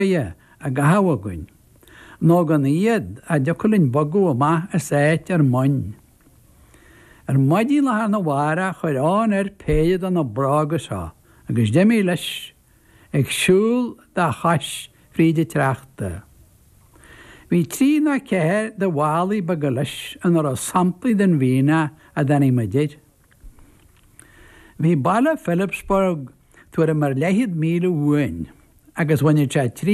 I gcaitheamh againn, nó gan iad, cha dtiocfadh linn bogadh amach as áit ár mbonn. Ar maidin lá arna mhárach chuir Eoin air péire de na bróga seo agus d'imigh leis ag siúl dá chois fríd an tsneachta. Bhí trí nó ceathair de mhálaí beaga leis ina raibh samplaí den mhianach a dtáinig muid air. Bhí baile Philipsburg tuairim ar leathchéad míle uainn agus bhainfeadh sé.